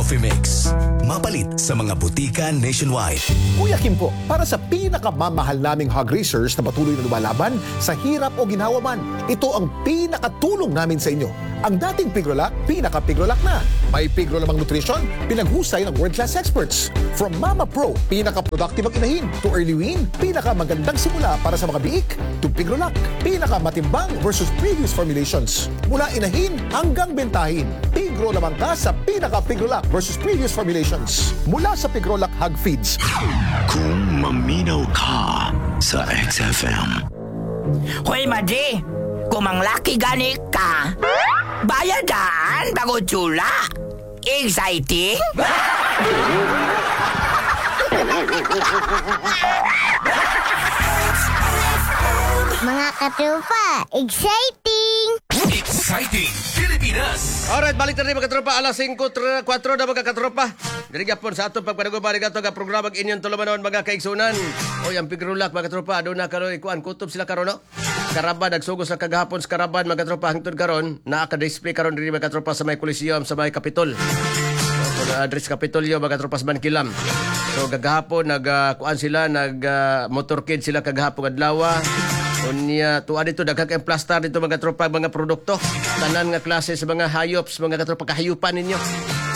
Coffee Mix. Mapalit sa mga butika nationwide. Kuya Kim po, para sa pinakamamahal naming hog raisers na patuloy na lumalaban sa hirap o ginhawa man, ito ang pinakatulong namin sa inyo. Ang dating Pigrolac, pinaka-Pigrolac na. May Pigro lamang nutrition, pinaghusay ng world-class experts. From Mama Pro, pinaka-productive ang inahin, to Early Wean, pinaka-magandang simula para sa mga biik, to Pigrolac, pinaka-matimbang versus previous formulations. Mula inahin hanggang bentahin, Pigro lamang ka sa pinaka-Pigrolac versus previous formulations. Mula sa Pigrolac Hog Feeds. Kung maminaw ka sa XFM. Hoy, Madi! Kung manglaki gani ka, bayadaan bago tsula. Exciting? Mga katropa, exciting! Exciting Pilipinas! Alright, balik na rin, mga katropa. Alas 5, 4 na, mga katropa. Diri gapon sa atong pagpanaguban ato nga programa inyong tulumanon, mga kaigsunan. Oy, ang Pigrulak, mga katropa, aduna karon ikuan kutob sila karon, no. Karaban nagsugos sa kagahapon sa karaban, mga katropa, hangtod karon naa ka display karon diri, mga katropa, sa may Coliseum sa may Capitol. So, na address Kapitolyo, mga katropa, sa Bankilam. So kagahapon nag kuan sila, nag motorcade sila kagahapon adlaw. Unya tuwa dito daghan kay plaster dito, mga katropa, mga produkto. Tanan nga klase sa mga hayops, mga katropa, kahayupan ninyo.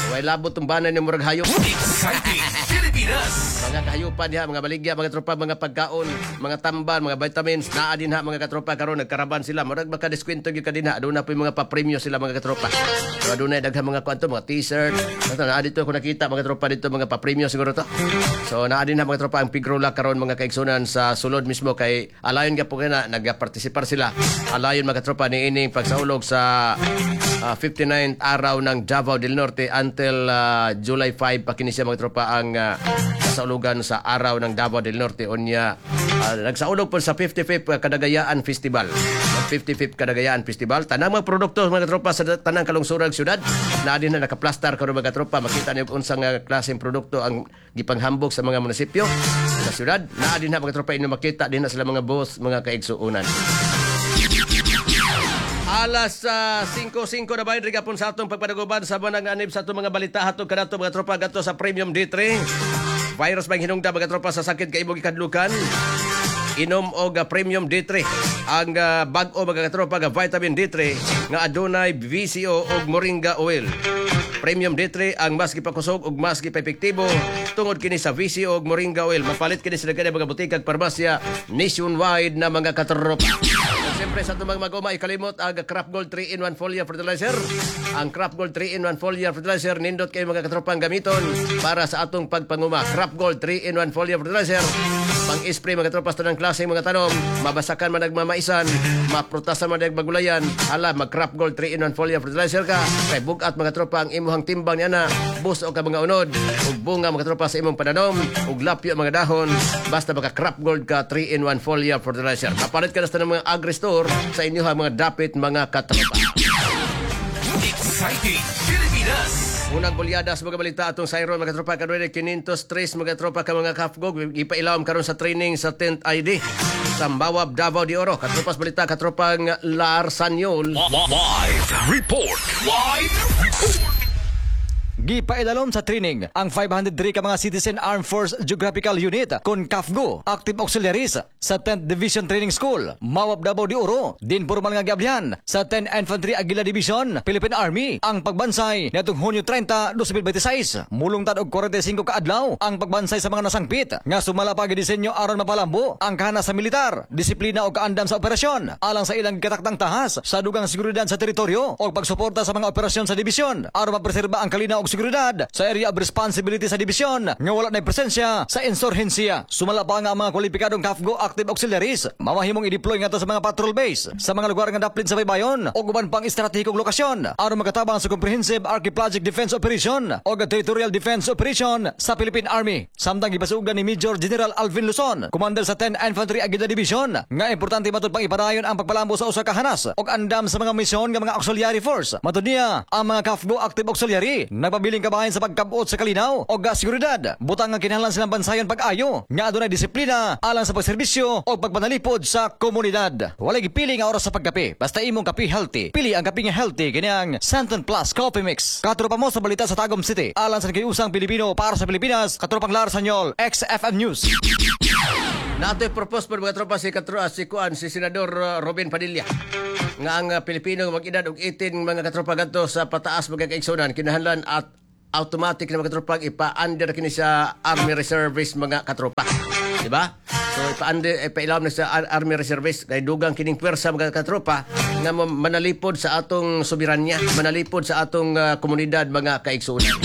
Way labot tong banan ni murag hayop. Exciting Pilipinas! Mga kahayupan diha, mga baligya, mga tropa, mga pagkaon, mga tambal, mga vitamins, naa din ha, mga katropa, karon nagkaraban sila. Murag maka-diskwento gyud ka dinha. Aduna po yung mga papremyo sila, mga katropa. So aduna daghan mga kwanto, mga t-shirt. Ato naa dito ako nakita, mga tropa, dito mga papremyo siguro to. So naa din ha, mga tropa, ang Pigrola karon, mga kaigsunan, sa sulod mismo kay alayon gyapon na nagapartisipar sila. Alayon, mga tropa, niining pagsaulog sa 59th araw ng Davao del Norte until July 5 pa kini siya, mga tropa, ang kasaulugan sa araw ng Davao del Norte. Unya nagsaulog po sa 55th Kadagayaan Festival. Ang 55th Kadagayaan Festival, tanang mga produkto, mga tropa, sa tanang kalungsurang syudad na din na nakaplastar karon, mga tropa. Makita niyo kung unsang klaseng produkto ang gipanghambog sa mga munisipyo sa syudad. Naa din na, mga tropa, inyo makita din na sila mga boss, mga kaigsuonan. Alas 5.05 na ba gapon sa atong pagpadaguban sa banang anib sa atong mga balita hatog kanato, mga tropa, gato sa Premium D3. Virus bang hinungda, mga tropa, sa sakit kay imong gikadlukan? Inom og Premium D3. Ang bag-o, mga katropa, nga vitamin D3 nga adunay VCO ug moringa oil. Premium D3 ang mas gipakusog ug mas gipaepektibo tungod kini sa VCO ug moringa oil. Mapalit kini sa daghan mga butika ug parmasya nationwide na, mga katropa. Ug siyempre sa atong mga maguma, ikalimot ang Crop Gold 3-in-1 foliar fertilizer. Ang Crop Gold 3-in-1 foliar fertilizer, nindot kayo, mga katropang, gamiton para sa atong pagpanguma. Crop Gold 3-in-1 foliar fertilizer. Pang-spray, mga tropa, sa tanang klaseng mga tanom, mabasakan man nagmamaisan, maprutasan man nagmagulayan, hala, mag-Crop Gold 3-in-1 foliar fertilizer ka, kay bugat, mga tropa, ang imuhang timbang niya na, buso ka mga unod, ug bunga, mga tropa, sa imong pananom, ug lapyo mga dahon, basta maka Crop Gold ka 3-in-1 foliar fertilizer. Kapalit ka na sa tanang mga agri-store sa inyo mga dapit, mga katropa. Exciting Pilipinas! Unang bulyada sa mga balita atong sayron, mga tropa, karon 503, mga tropa, ka mga kafgog ipailaom karon sa training sa 10th ID sa Mawab, Davao de Oro. Katropas balita, katropang Lar Sanyol. Live Report! Live Report! Gipaidalom sa training ang 503 ka mga Citizen Armed Force Geographical Unit kon CAFGO Active Auxiliaries sa 10th Division Training School, Mawab, Davao de Oro. Din formal nga giablihan sa 10th Infantry Aguila Division, Philippine Army ang pagbansay niadtong Hunyo 30, 2026. Mulungtad og 45 ka adlaw ang pagbansay sa mga nasangpit nga sumala pa gidisenyo aron mapalambo ang kahanas sa militar, disiplina o kaandam sa operasyon alang sa ilang gitaktang tahas sa dugang seguridad sa teritoryo o pagsuporta sa mga operasyon sa dibisyon aron mapreserba ang kalinaw og seguridad sa area of responsibility sa dibisyon nga wala na presensya sa insurhensiya. Sumala pa nga ang mga kwalipikadong CAFGO Active Auxiliaries mamahimong i-deploy ngadto sa mga patrol base sa mga lugar nga daplin sa baybayon o uban pang estratehikong lokasyon aron makatabang sa Comprehensive Archipelagic Defense Operation o Territorial Defense Operation sa Philippine Army. Samtang gipasugdan ni Major General Alvin Luzon, commander sa 10 Infantry Aguila Division, nga importante matud pang ipadayon ang pagpalambo sa usa ka hanas og andam sa mga misyon nga mga auxiliary force. Matud niya, ang mga CAFGO Active Auxiliary nagpabilin nagpabiling kabahin sa pagkabot sa kalinaw o seguridad. Butang nga kinahanglan silang bansayon pag-ayo nga adunay disiplina alang sa pagserbisyo o pagpanalipod sa komunidad. Walay gipili nga oras sa pagkape. Basta imong kape healthy. Pili ang kape nga healthy kini ang Santon Plus Coffee Mix. Katropa mo sa balita sa Tagum City. Alang sa nagkiusang Pilipino para sa Pilipinas, katropang Lar Sanyol, XFM News. Nato'y propose po, mga tropa, si katro si kuan si Senador Robin Padilla nga ang Pilipino nga mag-edad og 18, mga katropa, gadto sa pataas, mga kaigsunan, kinahanglan at automatic na, mga katropa, ipa-under kini sa Army Reservist, mga katropa. Di ba? So ipa-under, ipailawom na sa Army Reservist kay dugang kining puwersa, mga katropa, nga manalipod sa atong soberanya, manalipod sa atong komunidad, mga kaigsunan.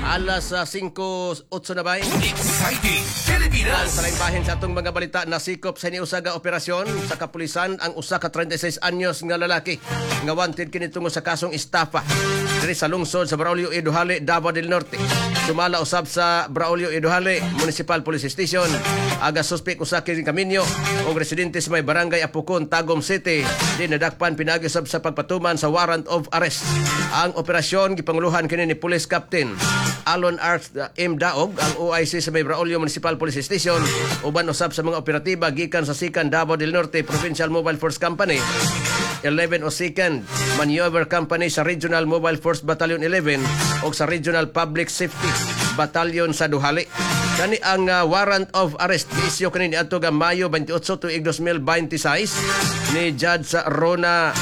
Alas 5:08 na ba? Exciting Pilipinas! Sa laing bahin sa atong mga balita, nasikop sa iniusa nga operasyon sa kapulisan ang usa ka 36 anyos nga lalaki nga wanted kini tungod sa kasong estafa diri sa lungsod sa Braulio E. Duhali, Davao del Norte. Sumala usab sa Braulio E. Duhali Municipal Police Station, aga suspek usa kini kaminyo og residente sa may Barangay Apokon, Tagum City, di nadakpan pinaagi usab sa pagpatuman sa warrant of arrest. Ang operasyon gipanguluhan kini ni Police Captain Alon Art M. Daog, ang OIC sa may Braulio Municipal Police Station, uban usab sa mga operatiba gikan sa Sikan Davao del Norte Provincial Mobile Force Company 11 o Second Maneuver Company sa Regional Mobile Force Battalion 11 o sa Regional Public Safety Battalion sa Duhali. Kani ang warrant of arrest giisyu kani niadto nga Mayo 28 tuig 2026 ni Judge Rona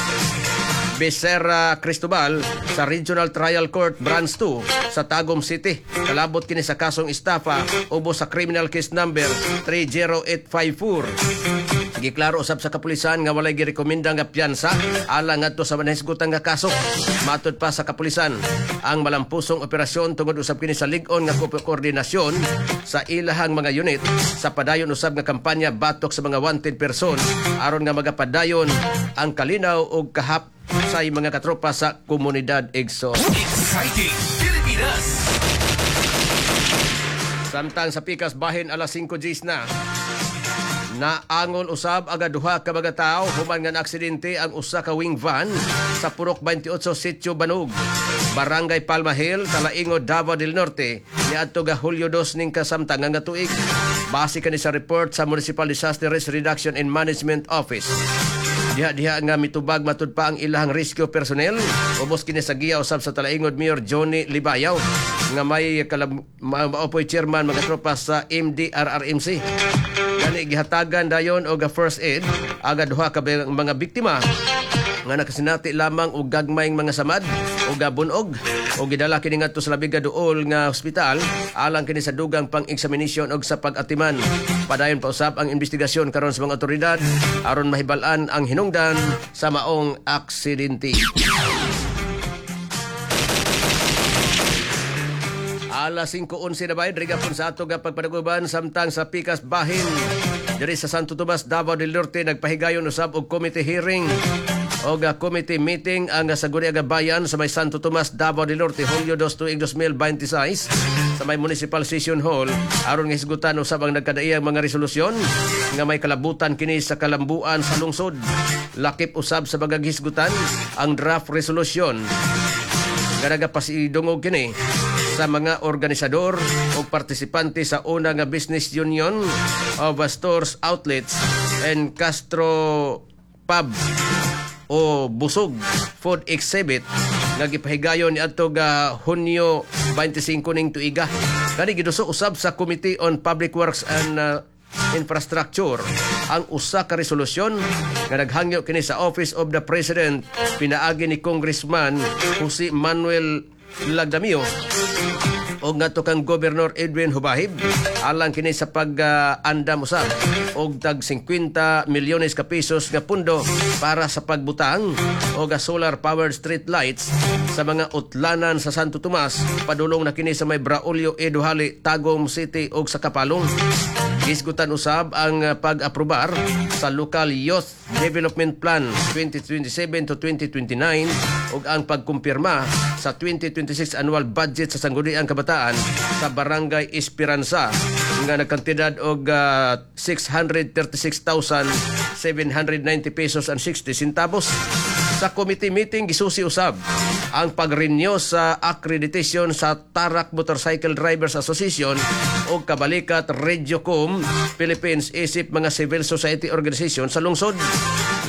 Becerra Cristobal sa Regional Trial Court Branch 2 sa Tagum City. Kalabot kini sa kasong estafa ubos sa criminal case number 30854. Giklaro usab sa kapulisan nga walay girekomenda nga piyansa alang ngadto sa nahisgutan nga kaso. Matod pa sa kapulisan, ang malampusong operasyon tungod usab kini sa lig-on nga koordinasyon sa ilahang mga unit sa padayon usab nga kampanya batok sa mga wanted person aron nga magapadayon ang kalinaw ug kahap sa mga katropa sa komunidad, igsoon. Exciting Pilipinas! Samtang sa pikas bahin, alas 5:10 na. Naangol usab aga duha ka mga tawo human nga naaksidente ang usa ka wing van sa Purok 28, Sitio Banog, Barangay Palma Hill, Talaingod, Davao del Norte niadto ga Hulyo 2 ning kasamtangan nga tuig. Base kani sa report sa Municipal Disaster Risk Reduction and Management Office. Diha-diha nga mitubag matud pa ang ilahang rescue personnel. Ubos kini sa giya usab sa Talaingod Mayor Johnny Libayaw nga may maopoy chairman, mga tropa, sa MDRRMC. Gani gihatagan dayon og first aid aga duha ka mga biktima nga nakasinati lamang og gagmayng mga samad o bunog o gidala kini ngadto sa labi ka duol nga ospital alang kini sa dugang pang-examination og sa pag-atiman. Padayon pa usab ang investigasyon karon sa mga otoridad aron mahibal-an ang hinungdan sa maong aksidente. Alas 5:11 na ba, diri sa ato nga pagpadaguban. Samtang sa pikas bahin, diri sa Santo Tomas, Davao del Norte, nagpahigayon usab og committee hearing og committee meeting ang Sangguniang Bayan sa may Santo Tomas, Davao del Norte, Hulyo 2 tuig 2026 sa may Municipal Session Hall aron nga hisgutan usab ang nagkadaiyang mga resolusyon nga may kalabutan kini sa kalambuan sa lungsod. Lakip usab sa mga hisgutan ang draft resolution nga nagapasidungog kini sa mga organisador o partisipante sa una nga Business Union of Stores Outlets and Gastro Pub o Busog Food Exhibit nga gipahigayon niadto ga Hunyo 25 ning tuiga. Kani giduso usab sa Committee on Public Works and Infrastructure ang usa ka resolusyon nga naghangyo kini sa Office of the President pinaagi ni Congressman Jose Manuel Lagdameo o ngadto kang Governor Edwin Jubahib alang kini sa pag-andam usab og tag 50 milyones ka pesos nga pundo para sa pagbutang og solar powered street lights sa mga utlanan sa Santo Tomas, padulong na kini sa may Braulio E. Duhali, Tagum City ug sa Kapalong. Gisgutan usab ang pag-aprobar sa Local Youth Development Plan 2027 to 2029 ug ang pagkumpirma sa 2026 annual budget sa Sangguniang Kabataan sa Barangay Esperanza nga nagkantidad og 636,790 pesos and 60 centavos. Sa committee meeting gisusi usab ang pag-renew sa accreditation sa Tarak Motorcycle Drivers Association o Kabalikat Radiocom Philippines isip mga civil society organization sa lungsod.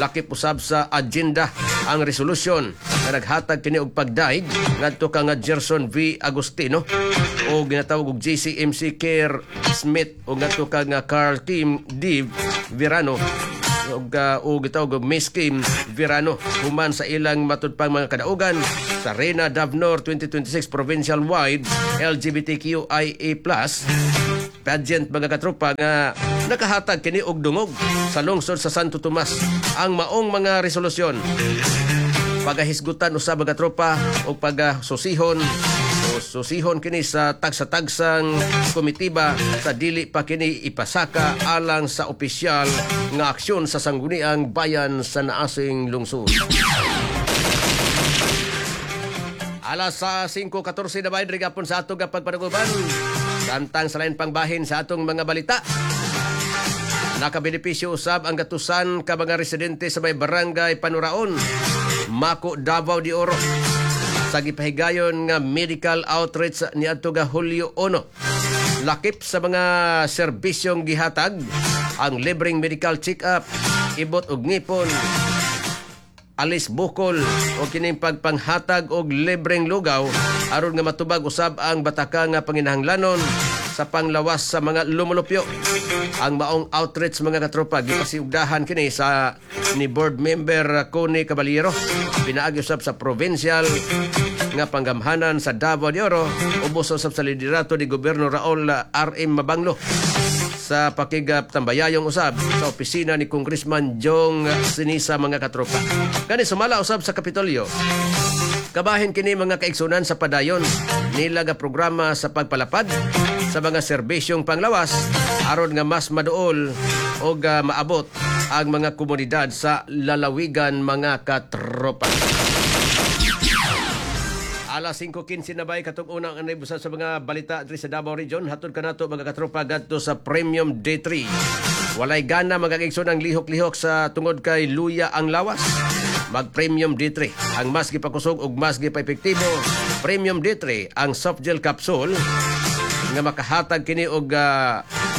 Lakip usab sa agenda ang resolution nga naghatag kini og pagdaig ngadto ka nga Gerson V. Agustino o ginatawag og JCMC Care Smith o ngadto ka nga Carl Kim D. Verano og gitawag og Miss Kim Verano human sa ilang matud pang mga kadaugan sa Reyna Davnor 2026 Provincial Wide LGBTQIA+ pageant, mga katropa, nga nakahatag kini og dungog sa lungsod sa Santo Tomas. Ang maong mga resolusyon pagahisgutan usab, mga tropa, og pagasusihon o susihon kini sa tagsa-tagsang komitiba sa dili pa kini ipasaka alang sa opisyal nga aksyon sa Sangguniang Bayan sa naasing lungsod. Alas sa 5:14 na ba gapon sa atong pagpanaguban. Samtang sa lain pang bahin sa atong mga balita. Nakabenepisyo usab ang gatusan ka mga residente sa may barangay Panuraon, Mako, Davao de Oro, sa gipahigayon nga medical outreach niadto ga Hulyo 1. Lakip sa mga serbisyong gihatag ang libreng medical check-up, ibot og ngipon, alis bukol o kining pagpanghatag og libreng lugaw aron nga matubag usab ang bataka nga panginahanglanon sa panglawas sa mga lumulupyo. Ang maong outreach, mga katropa, gipasiugdahan kini sa ni board member Connie Caballero pinaagi usab sa provincial nga panggamhanan sa Davao de Oro ubos usab sa liderato ni Gobyerno Raul R.M. Mabanglo sa pakigap tambayayong usab sa opisina ni Congressman Jong Sinisa, mga katropa. Kani sumala usab sa Kapitolyo. Kabahin kini, mga kaigsunan, sa padayon nila nga programa sa pagpalapad sa mga serbisyong panglawas aron nga mas maduol og maabot ang mga komunidad sa lalawigan, mga katropa. Alas 5:15 na bay katong unang anay busa sa mga balita diri sa Davao Region. Hatod kanato, mga katropa, gadto sa Premium D3. Walay gana, mga kaigsoon, ang lihok-lihok sa tungod kay luya ang lawas. Mag Premium D3, ang mas gipakusog ug mas gipaepektibo. Premium D3 ang soft gel capsule nga makahatag kini og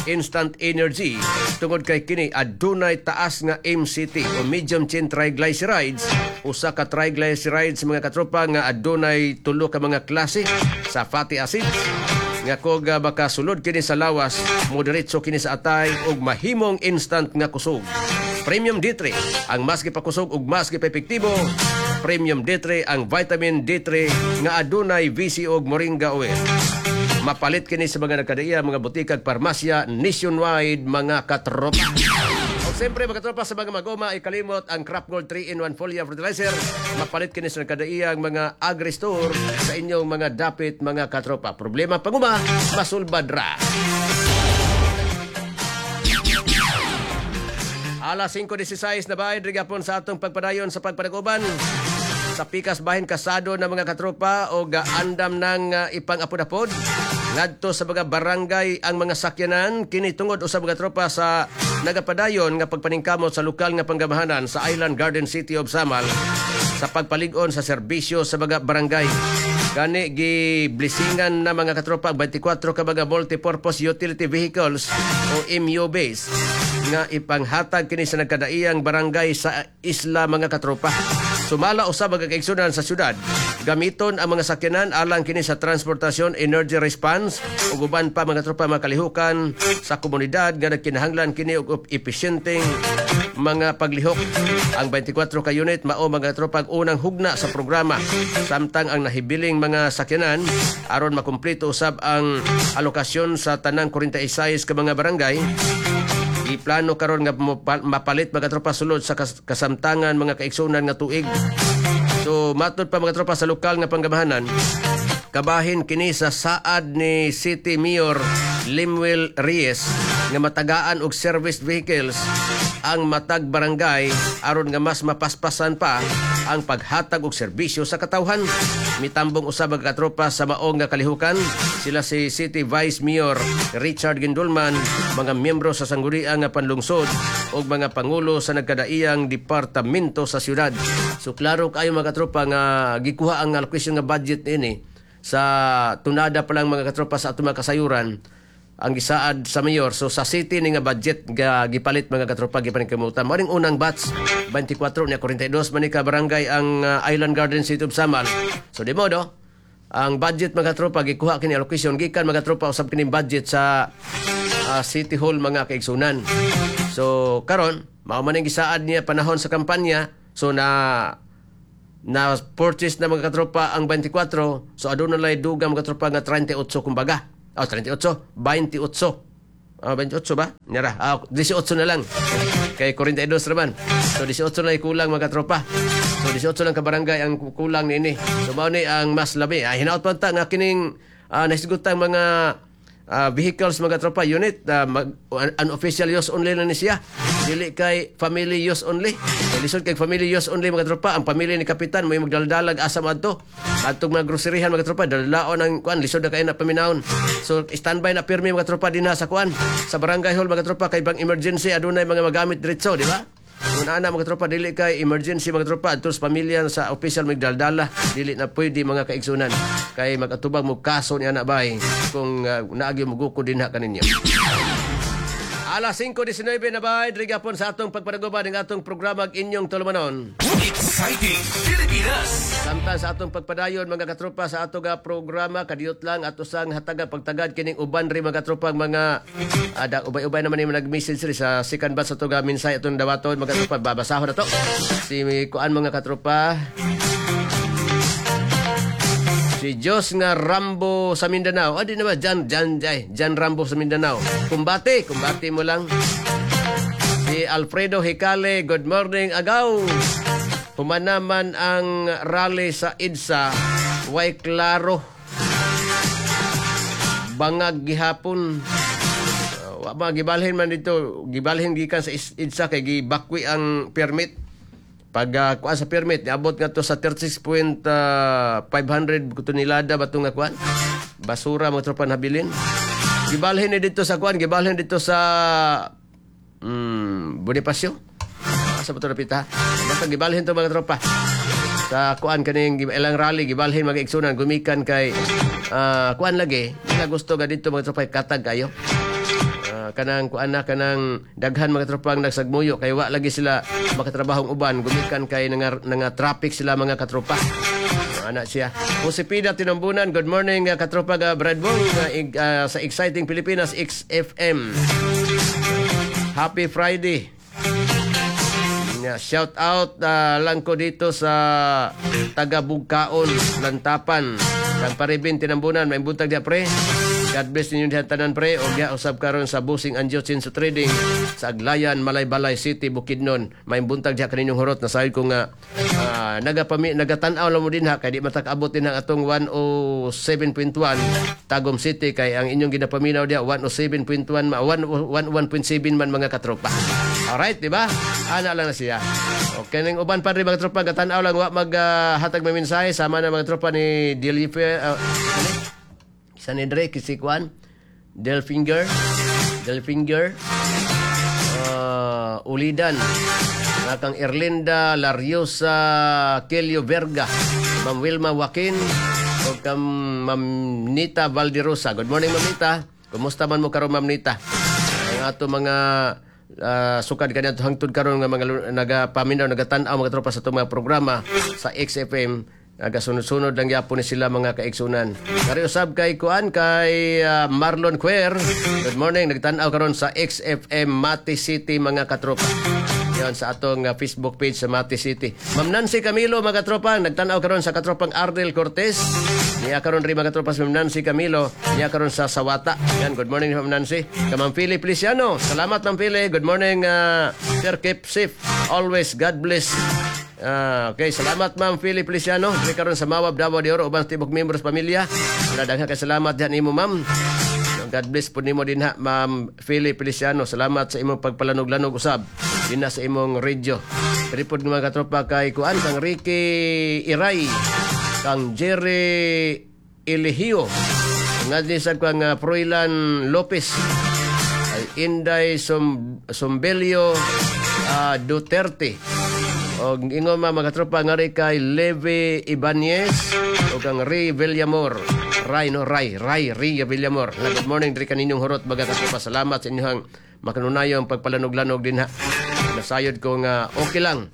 instant energy tungod kay kini adunay taas nga MCT o medium chain triglycerides, usa ka triglycerides, mga katropa, nga adunay tulo ka mga klase sa fatty acids nga kog makasulod kini sa lawas, modiretso kini sa atay ug mahimong instant nga kusog. Premium D3 ang mas gipakusog ug mas gipaepektibo. Premium D3 ang vitamin D3 nga adunay VC og moringa oil. Mapalit kini sa mga nagkadaiya mga butika ug parmasya nationwide, mga katropa. O siyempre, mga katropa, sa mga magoma ay kalimot ang Crop Gold 3-in-1 foliar fertilizer. Mapalit kini sa nagkadaiyang mga agri-store sa inyong mga dapit, mga katropa. Problema panguma, masulbad ra. Alas 5:16 na ba, gapon sa atong pagpadayon sa pagpanaguban. Sa pikas bahin kasado ng mga katropa o gaandam ng ipang-apod-apod ngadto sa mga barangay ang mga sakyanan kini tungod usab, mga tropa, sa nagapadayon nga pagpaningkamot sa lokal nga panggamahanan sa Island Garden City of Samal sa pagpalig-on sa serbisyo sa mga barangay. Gani gi-blessingan na, mga katropa, ang 24 ka mga multipurpose utility vehicles o MUVs nga ipanghatag kini sa nagkadaiyang barangay sa isla, mga katropa. Sumala usab, mga kaigsunan, sa syudad. Gamiton ang mga sakyanan alang kini sa transportasyon, energy response ug uban pa, mga tropa, mga kalihukan sa komunidad nga nagkinahanglan kini og epesyenteng mga paglihok. Ang 24 ka unit mao, mga tropa, ang unang hugna sa programa. Samtang ang nahibiling mga sakyanan aron makumpleto usab ang alokasyon sa tanang 46 ka mga barangay. Iplano karon nga mapalit, mga tropa, sulod sa kasamtangan, mga kaigsunan, nga tuig. So matod pa, mga tropa, sa lokal nga panggamahanan, kabahin kini sa saad ni City Mayor Lemuel Reyes nga matagaan og service vehicles. ang matag barangay aron nga mas mapaspasan pa ang paghatag og serbisyo sa katawhan. Mitambong usab ang katropa sa maong nga kalihukan sila si City Vice Mayor Richard Gindulman, mga miyembro sa sangguniang nga panlungsod ug mga pangulo sa nagkadaiyang departamento sa syudad. So klaro kaayo, mga katropa, nga gikuha ang allocation nga budget niini sa tunada pa lang, mga katropa, sa atong mga kasayuran ang gisaad sa mayor. So sa city ni nga budget ga gipalit, mga katropa, gipaningkamutan. Mao ning unang batch 24 niya, 42 man ni ka barangay ang Island Garden City of Samal. So di modo ang budget, mga katropa, gikuha kini allocation gikan, mga katropa, usab kini budget sa City Hall, mga kaigsunan. So karon mao man ang gisaad niya panahon sa kampanya. So na na purchase na, mga katropa, ang 24. So aduna lay dugang, mga katropa, nga 38 kumbaga. Oh, 38, 28. Ah, 28 ba? Nira. Ah, 18 na lang. Kay 42 raman. So 18 na kulang, mga katropa. So 18 lang ka barangay ang kulang niini. So mao ni ang mas labi. Ah, hinaot pa ta nga kining nahisgutan mga vehicles, mga tropa, unit unofficial use only na ni siya, dili kay family use only. Kay lisod kay family use only, mga tropa. Ang pamilya ni kapitan may magdaldalag asa adto adtong mga groceryhan, mga tropa, dalalaon ang kuan, lisod na kay na paminawon. So standby na pirmi, mga tropa, dinha sa kuan, sa barangay hall, mga tropa, kay bang emergency adunay mga magamit diretso, di ba? Kung ana, mga tropa, dili kay emergency, mga tropa, adto sa pamilya sa official magdaldala, dili na pwede, mga kaigsunan. Kay magatubag mo kaso ni ana bay kung naagi mo guko dinha kaninyo. Alas 5:19 na bay, diri gapon sa atong pagpanaguban ng atong programa ang inyong tulumanon. Exciting Pilipinas. Samtang sa atong pagpadayon, mga katropa, sa atong programa, kadiyot lang ato sang hataga pagtagad kining uban ri, mga katropa, mga ada ubay-ubay naman yung nag-message ri sa second batch sa atong mensahe atong dawaton, mga katropa. Babasahon na to si kuan, mga katropa, si Diyos nga Rambo sa Mindanao. Ah, di na ba? Jan, Jan, ay, Jan Rambo sa Mindanao. Kumbate, kumbate mo lang. Si Alfredo Hicale, good morning, agaw. Humanaman ang rally sa EDSA, way klaro. Bangag gihapon. Wa ba gibalhin man dito, gibalhin gikan sa EDSA kay gibakwi ang permit. Pag kuan sa permit, niabot nga to sa 36.500 tonelada ba nga kuan? Basura, mga tropa, nabilin. Gibalhin ni dito sa kuan, gibalhin dito sa Bonifacio. Asa ba ito napita? Basta gibalhin to, mga tropa. Sa kuan kaning ilang rally gibalhin, mga igsunan, gumikan kay kuan lagi. Di na gusto ga dito, mga tropa, katag kayo. Kanang kuan na kanang daghan, mga tropa, ang nagsagmuyo kay wa lagi sila makatrabahong uban gumikan kay nga traffic sila, mga katropa. Ana siya. Josepina Tinambunan, good morning, katropa ga Bradbong sa Exciting Pilipinas XFM. Happy Friday. Yeah, shout out lang ko dito sa taga Bugkaon, Lantapan. Kang Paribin Tinambunan, may buntag diya, pre. God bless ninyo diha tanan, pre. O diha usab karon sa Busing Anjo sa Trading sa Aglayan, Malaybalay City, Bukidnon. May buntag diha kaninyong hurot na sayod ko nga nagatan-aw lang mo dinha kay di matak-abot din ang atong 107.1 Tagum City kay ang inyong ginapaminaw diha 107.1 101.7 man, mga katropa. Alright, di ba? Ana lang na siya. Okay, ning uban pa rin, mga tropa, gatan-aw lang wa mag hatag may mensahe sama na, mga tropa, ni Delifer isa ni Dre si Kwan Delfinger Delfinger Ulidan na kang Erlinda Lariosa Kelio Verga, Ma'am Wilma Joaquin o kang Ma'am Nita Valderosa. Good morning, Ma'am Nita. Kumusta man mo karon, Ma'am Nita? Ang ato mga sukad kaniadto hangtod karon nga mga nagapaminaw, nagatan-aw, mga tropa, sa atong mga programa sa XFM, nagasunod-sunod lang gyapon ni sila, mga kaigsunan. Kari usab kay kuan kay Marlon Quer. Good morning, nagtan-aw karon sa XFM Mati City, mga katropa. Yon sa atong Facebook page sa Mati City. Ma'am Nancy Camilo, mga katropa, nagtan-aw karon sa katropang Ardel Cortez. Niya karon rin, mga katropa, si Ma'am Nancy Camilo, niya karon sa Sawata. Yan, good morning, Ma'am Nancy. Ka Ma'am Philip Feliciano. Salamat, Ma'am Philip. Good morning, sir, keep safe. Always God bless. Okay, salamat, Ma'am Philip Feliciano. Diri karon sa Mawab, Davao de Oro uban sa tibok membros pamilya. Wala, daghan kay salamat diyan nimo, Ma'am. God bless po nimo dinha, Ma'am Philip Feliciano. Salamat sa imong pagpalanog-lanog usab. Dinha sa imong radio. Tripod mga katropa kay kuan kang Ricky Iray, kang Jerry Eligio, nga sa kang Froilan Lopez, ay Inday Sombelio Duterte. Og ingon mga katropa ngari kay Levi Ibanez o kang Ray Villamor. Ray no Ray Ray Ray Villamor. Na good morning diri kaninyong hurot mga katropa. Salamat sa inyong makanunayong pagpalanog-lanog dinha. Nasayod ko nga okay lang.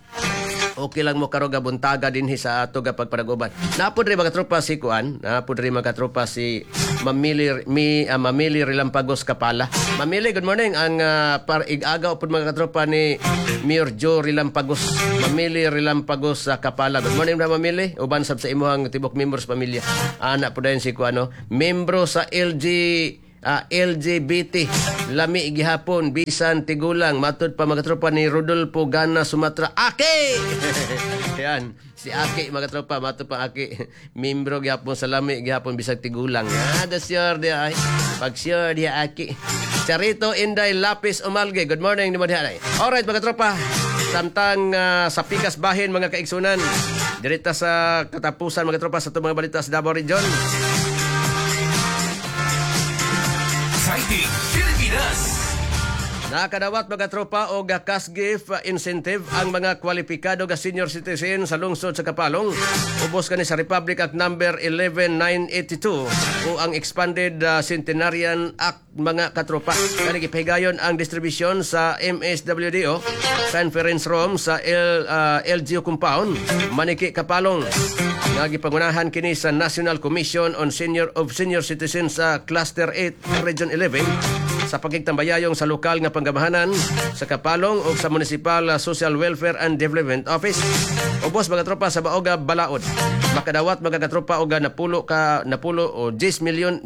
Okay lang mo karon nga buntaga dinhi sa ato ga pagpanaguban. Napod rin mga tropa si kuan, napod rin mga tropa si Mamili Mamili Relampagos Kapala. Mamili, good morning. Ang par igagaw pod mga katropa ni Mayor Joe Relampagos. Mamili Relampagos sa Kapala. Good morning na Mamili. Uban sab sa imuhang tibok members pamilya. Ana pod dayon si kuan no, membro sa LGBT lami gihapon bisan tigulang matud pa mga tropa ni Rodolfo Gana Sumatra Aki. Yan si Aki mga tropa, matud pa Aki membro gihapon sa lami gihapon bisag tigulang. The sure di ay pag sure di Aki. Charito Inday Lapis Umalge, good morning nimo diha. Alright mga tropa, samtang sa pikas bahin mga kaigsunan dirita sa katapusan mga tropa sa itong mga balita sa Davao Region. Exciting Pilipinas. Nakadawat mga tropa og cash gift incentive ang mga kwalipikado ga senior citizen sa lungsod sa Kapalong. Ubos kani sa Republic Act number 11982 o ang Expanded Centenarian Act mga katropa. Kani gipahigayon ang distribusyon sa MSWDO Conference Room sa LGU Compound, Maniki, Kapalong. Nga gipangunahan kini sa National Commission on Senior of Senior Citizens sa Cluster 8 Region 11 sa pagigtambayayong sa lokal nga panggamahanan sa Kapalong o sa Municipal Social Welfare and Development Office. Ubos mga tropa sa Baoga Balaod. Makadawat mga katropa og napulo o 10 milyon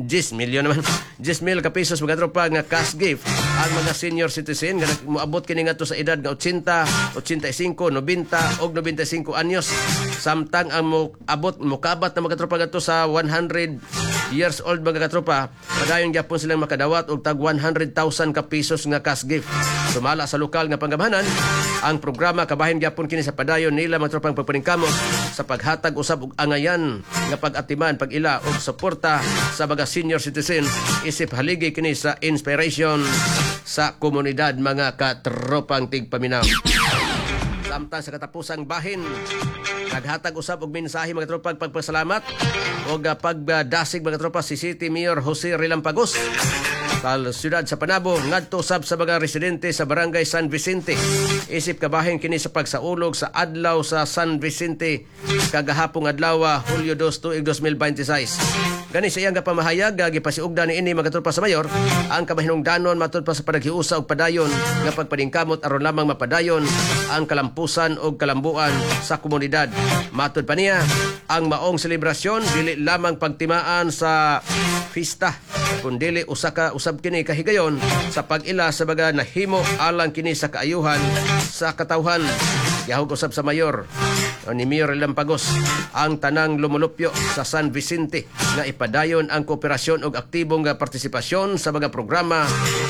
naman 10 mil ka pesos mga tropa nga cash gift ang mga senior citizen nga moabot kini ngadto sa edad nga 80, 85, 90 og 95 anyos. Samtang ang moabot mokabat na mga tropa ngadto sa 100 years old mga katropa, padayon gyapon silang makadawat og tag 100,000 ka pesos nga cash gift. Sumala sa lokal nga panggamahanan, ang programa kabahin gyapon kini sa padayon nila mga tropang pagpaningkamot sa paghatag usab og angayan nga pag-atiman, pag-ila og suporta sa mga senior citizens isip haligi kini sa inspiration sa komunidad mga katropang tigpaminaw. Samtang sa katapusang bahin, naghatag usab og mensahe mga tropa pagpasalamat og pagdasig mga tropa si City Mayor Jose Relampagos sa siyudad sa Panabo ngadto usab sa mga residente sa Barangay San Vicente. Isip kabahin kini sa pagsaulog sa adlaw sa San Vicente kagahapong adlaw Hulyo 2, tuig 2026. Gani sa iyang pamahayag gipasiugda niini mga tropa sa mayor ang kamahinungdanon matud pa sa panaghiusa og padayon nga pagpaningkamot aron lamang mapadayon ang kalampusan og kalambuan sa komunidad. Matud pa niya ang maong selebrasyon dili lamang pagtimaan sa pista kundili usa ka usab kini kahigayon sa pag-ila sa mga nahimo alang kini sa kaayuhan sa katawhan. Yahog usab sa mayor ni Mayor Relampagos ang tanang lumulupyo sa San Vicente nga ipadayon ang kooperasyon og aktibong nga partisipasyon sa mga programa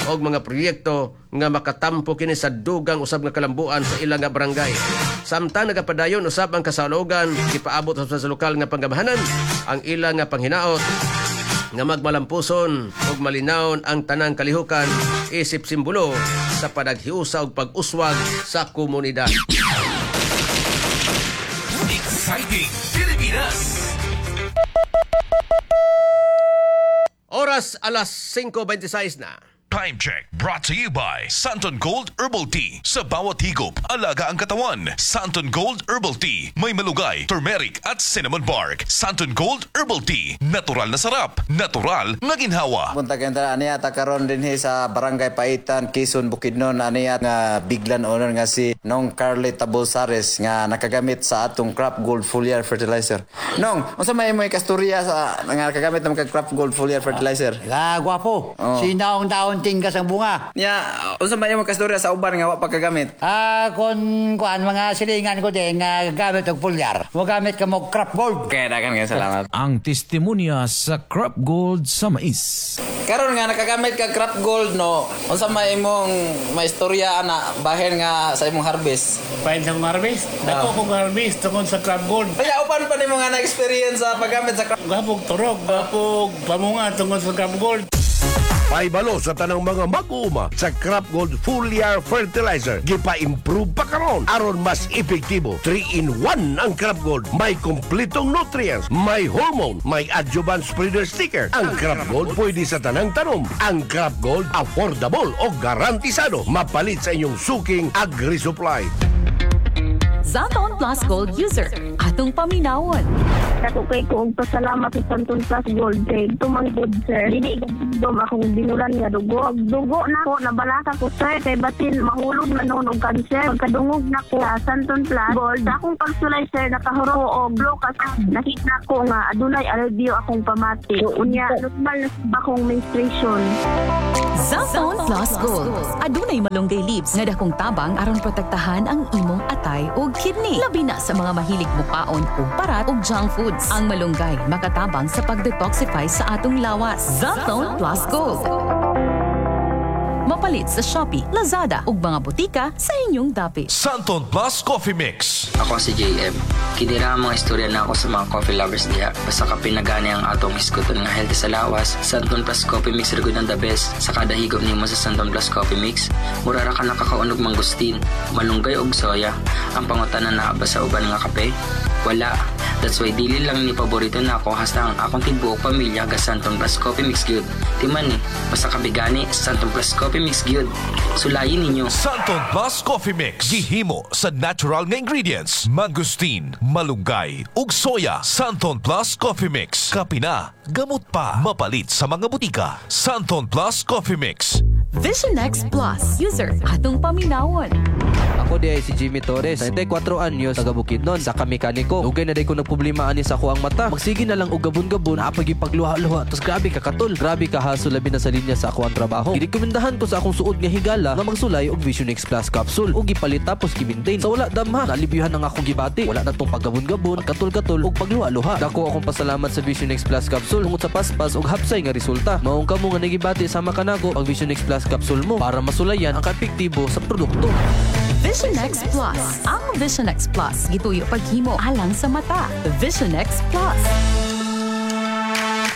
og mga proyekto nga makatampo kini sa dugang usab nga kalambuan sa ilang nga barangay. Samtang nagapadayon usab ang kasalogan gipaabot usab sa lokal nga panggamahanan ang ilang nga panghinaot nga magmalampuson ug malinawon ang tanang kalihukan isip simbolo sa panaghiusa ug pag-uswag sa komunidad. Exciting Pilipinas. Oras alas 5:26 na. Time check brought to you by Santon Gold Herbal Tea. Sa bawat higop, alaga ang katawan. Santon Gold Herbal Tea. May malugay, turmeric at cinnamon bark. Santon Gold Herbal Tea. Natural na sarap. Natural na ginhawa. Buntag enta aniya ta karon dinhi sa Barangay Paitan, Quezon, Bukidnon. Aniya nga biglan owner nga si Nong Carly Tabolsares nga nakagamit sa atong Crop Gold Foliar Fertilizer. Nong, unsa may imoy kasturya sa nga nakagamit ng Crop Gold Foliar Fertilizer? La gwapo. Oh. Sinaong taon tinggas ang bunga. Nya, unsa may imong kasturya sa uban nga wa pa kagamit? Kon kuan mga silingan ko din nga gamit og foliar. Mo gamit ka mo Crop Gold. Okay, dagan nga salamat. Ang testimonya sa Crop Gold sa mais. Karon nga nakagamit ka Crop Gold, no, unsa may imong maistorya ana bahin nga sa imong harvest? Bahin sa akong harvest? Dako kong harvest tungod sa Crop Gold. Kaya upan pa nimo nga na-experience sa paggamit sa Crop? Gapog turok, gapog pamunga tungod sa Crop Gold. Paibalo sa tanang mga mag-uuma sa Crop Gold Foliar Fertilizer. Gipa-improve pa karon aron mas epektibo. 3 in 1 ang Crop Gold. May kompletong nutrients, may hormone, may adjuvant spreader sticker. Ang Crop Gold pwede sa tanang tanom. Ang Crop Gold affordable o garantisado. Mapalit sa inyong suking agri-supply. Xanthone Plus Gold user. Atong paminawon. Dako kay ko og pasalamat sa Xanthone Plus Gold kay tumanggod, sir. Dili dom akong binulan nga dugo. Dugo na ko nabalaka ko, sir, kay basin mahulog na noon og kanser. Pagkadungog na ko sa Xanthone Plus Gold, akong pagsulay, sir, nakahuro ko og blokas. Nakita ko nga adunay alibyo akong pamati. Unya normal na ba akong menstruation. Xanthone Plus Gold. Adunay malunggay leaves nga dakong tabang aron protektahan ang imong atay ug kidney. Labi na sa mga mahilig mukaon og parat ug junk foods. Ang malunggay makatabang sa pag-detoxify sa atong lawas. Xanthone Plus Gold. Mapalit sa Shopee, Lazada ug mga butika sa inyong dapit. Xanthone Plus Coffee Mix. Ako si JM. Kini ra ang mga istorya na ako sa mga coffee lovers diha. Basta kape na gani ang atong hisgutan nga healthy sa lawas, Xanthone Plus Coffee Mix ra gud ang the best. Sa kada higop nimo sa Xanthone Plus Coffee Mix, mura ra ka nakakaon og mangustin, malunggay og soya. Ang pangutana, naa ba sa uban nga kape? Wala. That's why dili lang ni paborito nako, hasta ang akong tibuok pamilya ga Xanthone Plus Coffee Mix gyud. Timan ni, basta kape gani, Xanthone Plus Coffee Mix gyud. Sulayin ninyo. Xanthone Plus Coffee Mix. Gihimo sa natural nga ingredients. Mangosteen, malunggay, ug soya. Xanthone Plus Coffee Mix. Kape na, gamot pa. Mapalit sa mga butika. Xanthone Plus Coffee Mix. Vision X Plus user. Atong paminawon. Ako diay si Jimmy Torres, 34 anyos, taga Bukidnon, usa ka mekaniko. Dugay na day ko nagproblema ani sa akoang mata. Magsige na lang og gabon-gabon, naa pa'y pagluha-luha, tas grabe ka katol, grabe ka hassle, labi na sa linya sa akoang trabaho. Girekomendahan ko sa akong suod nga higala nga magsulay og Vision X Plus capsule ug gipalit tapos gi-maintain. Sa wala damha, nalibyuhan ang akong gibati. Wala na tong paggabon-gabon, katol-katol ug pagluha-luha. Dako akong pasalamat sa Vision X Plus capsule tungod sa paspas ug hapsay nga resulta. Maong kamo nga nagibati sama kanako, pag Vision X Plus capsule mo para masulayan ang kaepektibo sa produkto. Vision X Plus. Ang Vision X Plus gituyo paghimo alang sa mata. Vision X Plus.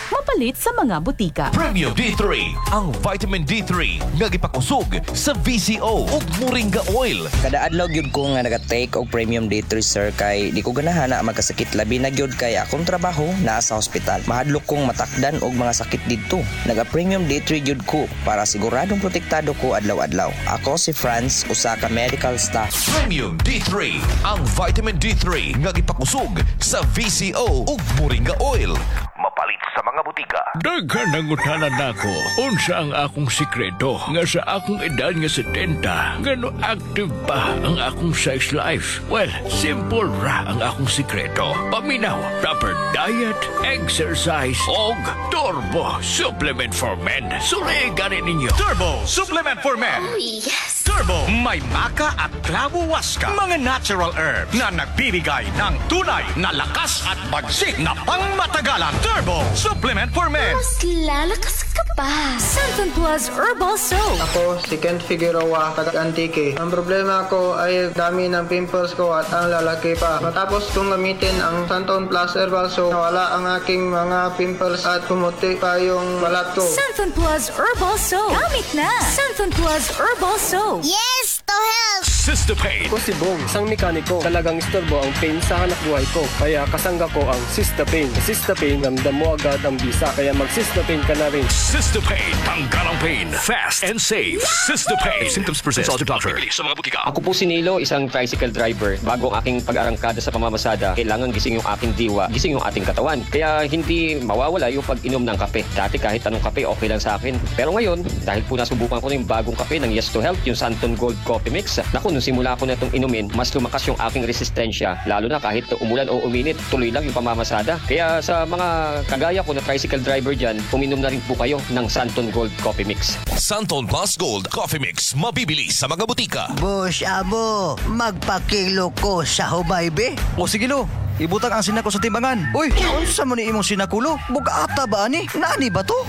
Mapalit sa mga butika. Premium D3, ang vitamin D3 nga gipakusog sa VCO ug Moringa oil. Kada adlaw gyud ko nga naga-take og Premium D3, sir, kay di ko ganahan na magkasakit, labi na gyud kay akong trabaho naa sa hospital. Mahadlok kong matakdan og mga sakit didto. Naga Premium D3 gyud ko para siguradong protektado ko adlaw-adlaw. Ako si Franz, usa ka medical staff. Premium D3, ang vitamin D3 nga gipakusog sa VCO ug Moringa oil. Mapalit sa mga butika. Daghan nangutana nako, unsa ang akong sikreto nga sa akong edad nga 70, ngano active pa ang akong sex life. Well, simple ra ang akong sikreto. Paminaw, proper diet, exercise, og Turbo Supplement for Men. Sulay gani ninyo. Turbo Supplement for Men. Oh, yes! Turbo, may maca at clavo huasca. Mga natural herbs na nagbibigay ng tunay na lakas at bagsik na pangmatagalan. Turbo Supplement for Men. Mas lalakas ka pa. Xanthone Plus Herbal Soap. Ako, si Kent Figueroa, taga Antique. Ang problema ko ay dami ng pimples ko at ang lalaki pa. Matapos kong gamitin ang Xanthone Plus Herbal Soap, nawala ang aking mga pimples at pumuti pa yung balat ko. Xanthone Plus Herbal Soap. Gamit na! Xanthone Plus Herbal Soap. Yes to health! Sister Pain. Ako si Bong, isang mekaniko. Talagang istorbo ang pain sa hanap buhay ko. Kaya kasangga ko ang Sista Pain. Sa Sista Pain, ramdam mo agad ang bisa. Kaya mag-Sista Pain ka na rin. Sister Pain, tanggal ang pain. Fast and safe. Sister Pain. If symptoms persist, consult your doctor. Bili sa mga butika. Ako po si Nilo, isang tricycle driver. Bago ang aking pag-arangkada sa pamamasada, kailangan gising yung aking diwa, gising yung ating katawan. Kaya hindi mawawala yung pag-inom ng kape. Dati kahit anong kape, okay lang sa akin. Pero ngayon, dahil po nasubukan ko na yung bagong kape ng Yes to Health, yung Xanthone Gold Coffee Mix, naku, nung simula ko na itong inumin, mas lumakas yung aking resistensya. Lalo na kahit umulan o uminit, tuloy lang yung pamamasada. Kaya sa mga kagaya ko na tricycle driver dyan, uminom na rin po kayo ng Xanthone Gold Coffee Mix. Xanthone Plus Gold Coffee Mix. Mabibili sa mga butika. Boss Amo, magpakilo ko sa Hubaybe. O sige lo. Ibutang ang sinako sa timbangan. Uy, unsa man ni imong sinakulo? Bugata ba ani? Naani ba to?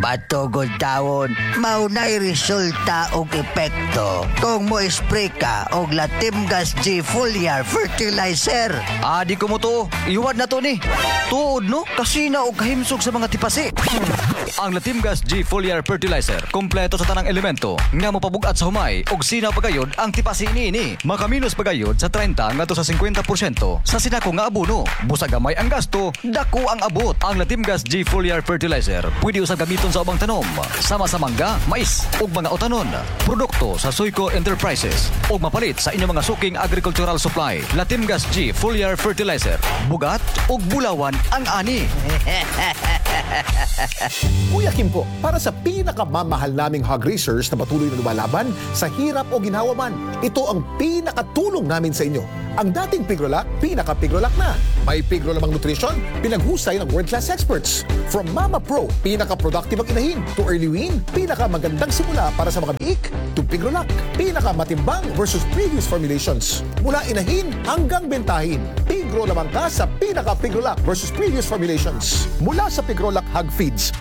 Bato gud tawon, mao na'y resulta og epekto kung mo spray ka og Latimgas G Foliar Fertilizer. Ah, di ko mo to. Iwad na to ni. Tuod no, kasina og kahimsog sa mga tipasi. Ang Latimgas G Foliar Fertilizer, kompleto sa tanang elemento nga mopabugat sa humay og sinaw pagayod ang tipasi niini. Makaminos pagayod sa 30 ngadto sa 50% sa sinako nga abono. Busa gamay ang gasto, dako ang abot. Ang Latimgas G Foliar Fertilizer pwede usab gamiton sa ubang tanom, sama sa mangga, mais ug mga utanon. Produkto sa Suico Enterprises ug mapalit sa inyong mga suking agricultural supply. Latimgas G Foliar Fertilizer, bugat ug bulawan ang ani. Kuya Kim po, para sa pinakamamahal naming hog raisers na patuloy na lumalaban sa hirap o ginhawa man, ito ang pinakatulong namin sa inyo. Ang dating Pigrolac, pinaka-Pigrolac na. May Pigro lamang nutrition, pinaghusay ng world-class experts. From Mama Pro, pinaka-productive ang inahin, to Early Wean, pinaka-magandang simula para sa mga biik, to Pigrolac, pinaka-matimbang versus previous formulations. Mula inahin hanggang bentahin, Pigro lamang ka sa pinaka-Pigrolac versus previous formulations. Mula sa Pigrolac Hog Feeds.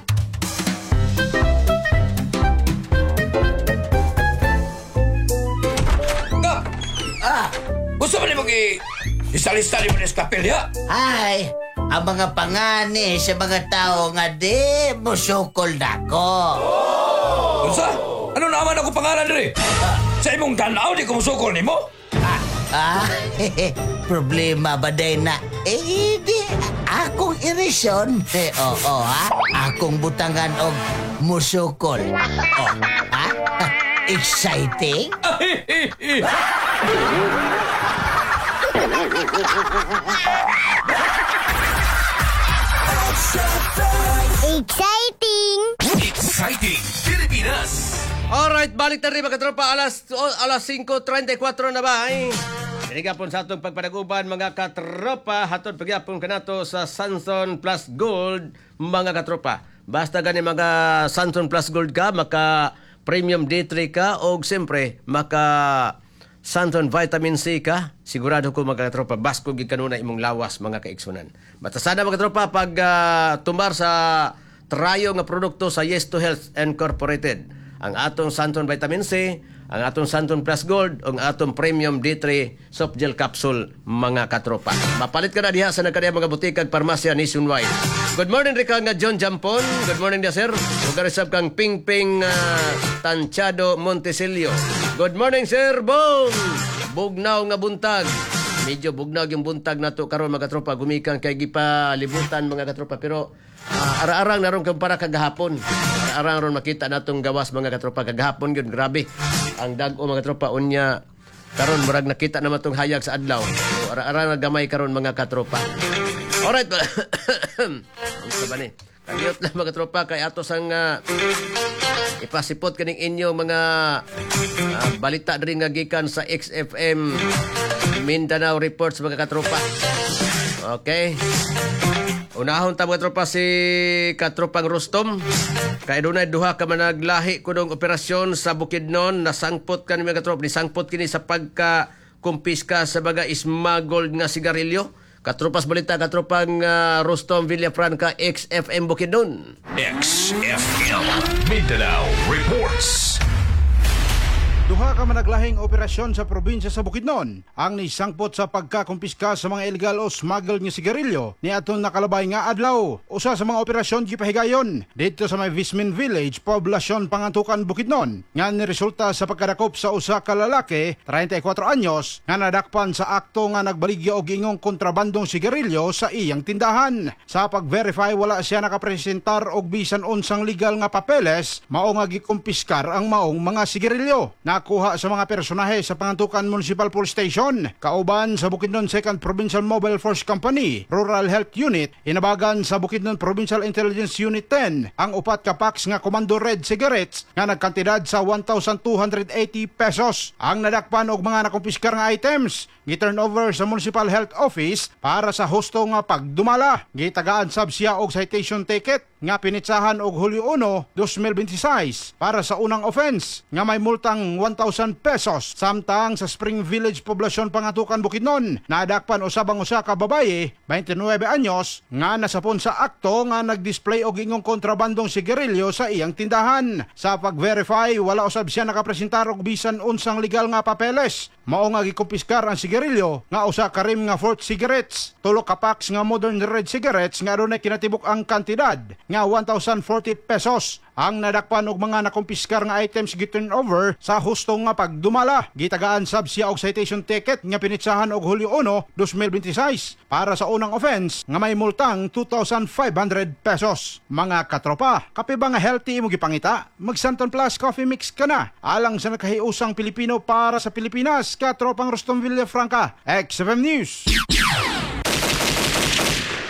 Ka! Ah! Gusto mo nimo gi isalista ni mo ni kapilya? Ay, ang mga pangani sa mga tao nga di musukol nako. Unsa? Ano naman ako pangalan diri? Sa imong tan-aw di ko musukol nimo? Ah, problema ba day na? Eh, di, akong irisyon. Eh, oo, ha? Akong butangan og musukol. Oh, ha? Exciting? Exciting! Exciting Pilipinas! Alright, balik na rin mga katropa. Alas 5:34 na ba? Ay? Dinigapon sa atong pagpanaguban mga katropa. Hatod pagyapon kanato sa Sanson Plus Gold mga katropa. Basta gani mga Sanson Plus Gold ka, maka Premium D3 ka, o siyempre maka Santon Vitamin C ka, sigurado ko mga katropa, basko gid kanuna imong lawas mga kaiksunan. Basta sana mga katropa pag tumbar sa trayo nga produkto sa Yes to Health Incorporated. Ang atong Santon Vitamin C, ang atong Santon Plus Gold, ang atong Premium D3 Soft Gel Capsule mga katropa. Mapalit ka na diha sa nagkadiha mga butik ag parmasya nationwide. Good morning Rika nga John Jampon. Good morning dia sir. Ug karisab kang Ping Ping Tanchado Montesilio. Good morning sir Bong. Bugnaw nga buntag. Medyo bugnaw yung buntag nato karon mga katropa, gumikan kay gipalibutan mga katropa, pero ara-arang naron kumpara kagahapon. Ara-arang ron makita natong gawas mga katropa kagahapon gyud, grabe ang dag-o mga katropa, unya karon murag nakita naman tong hayag sa adlaw. So, ara-arang gamay karon mga katropa. Alright. Unsa ba ni? Kagiyot lang mga katropa kay atos ang ipasipot kaning inyo mga balita diri nga gikan sa XFM Mindanao Reports mga katropa. Okay. Unahon ta mga tropa si katropang Rustom. Kay dunay duha ka managlahi kunong operasyon sa Bukidnon, nasangpot kani mga katropa, nisangpot kini sa pagka kumpiska sa baga smuggled nga sigarilyo. Katropas balita katropang Rustom Villafranca, XFM Bukidnon. XFM Mindanao Reports. Duha ka managlahing operasyon sa probinsya sa Bukidnon ang nisangpot sa pagkakumpiska sa mga illegal o smuggled nga sigarilyo ni atong nakalabay nga adlaw. Usa sa mga operasyon gipahigayon didto sa may Vismin Village, poblasyon Pangantukan, Bukidnon, nga niresulta sa pagkadakop sa usa ka lalaki, 34 anyos, nga nadakpan sa akto nga nagbaligya og ingong kontrabandong sigarilyo sa iyang tindahan. Sa pag-verify, wala siya nakapresentar og bisan unsang legal nga papeles mao nga gikumpiskar ang maong mga sigarilyo. Nakuha sa mga personahe sa Pangantukan Municipal Police Station, kauban sa Bukidnon 2nd Provincial Mobile Force Company, Rural Health Unit, inabagan sa Bukidnon Provincial Intelligence Unit 10, ang upat ka packs nga Comando Red cigarettes nga nagkantidad sa 1,280 pesos. Ang nadakpan og mga nakumpiskar nga items, gi-turn over sa Municipal Health Office para sa husto nga pagdumala. Gitagaan sab siya og citation ticket. nga pinitsahan og Hulyo 1, 2026 para sa unang offense nga may multang 1,000 pesos. Samtang sa Spring Village, Poblasyon Pangatukan, Bukidnon, nadakpan usab ang usa ka babaye, 29 anyos, nga nasapon sa akto nga nagdisplay og ingong kontrabandong sigarilyo sa iyang tindahan. Sa pag-verify, wala usab siya nakapresentar og bisan unsang legal nga papeles. Mao nga gikumpiskar ang sigarilyo nga usa ka rim nga Fort cigarettes, tulo ka packs nga Modern Red cigarettes nga adunay kinatibuk ang kantidad nga 1,040 pesos. Ang nadakpan og mga nakumpiskar nga items giturn over sa husto nga pagdumala. Gitagaan sab siya og citation ticket nga pinitsahan og Hulyo 1, 2026 para sa unang offense nga may multang 2,500 pesos. Mga katropa, kape ba nga healthy imo gipangita? Mag Santon Plus Coffee Mix ka na. Alang sa nakahiusang Pilipino para sa Pilipinas, katropang Rustom Villafranca, XFM News.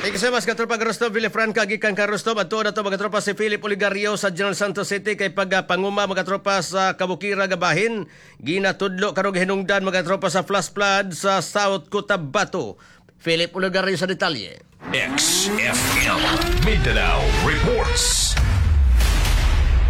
Thank you so much, katropa Rustom Villafranca. Gikan ka Rustom. At na to mga tropa si Philip Oligario sa General Santos City kay pagpanguma mga tropa sa Kabukira Gabahin. Ginatudlo karong hinungdan mga tropa sa flash flood sa South Cotabato. Philip Oligario sa detalye. XFM Mindanao reports.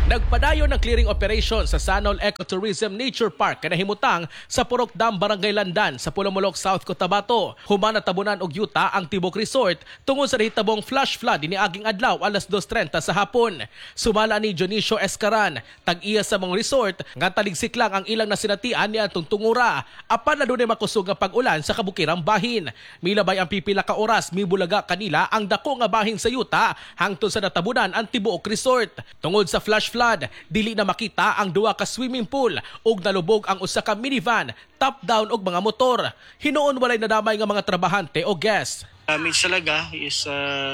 Nagpadayon ng clearing operation sa Sanol Ecotourism Nature Park kanahimutang sa Purok Dam, Barangay Landan sa Pulomolok, South Cotabato. Human natabunan og yuta ang Tibok Resort tungod sa nahitabong flash flood niaging adlaw alas 2:30 sa hapon. Sumala ni Dionisio Escaran, tag-iya sa mga resort nga taligsik lang ang ilang nasinatian ni atong tungura apan adunay makusog nga pag-ulan sa kabukirang bahin. Milabay ang pipila ka oras mibulaga kanila ang dako nga bahin sa yuta hangtod sa natabunan ang Tibuok Resort. Tungod sa flash flood, dili na makita ang duha ka swimming pool ug nalubog ang usa ka minivan, top down og mga motor. Hinuon walay nadamay nga mga trabahante o guest. Damage talaga is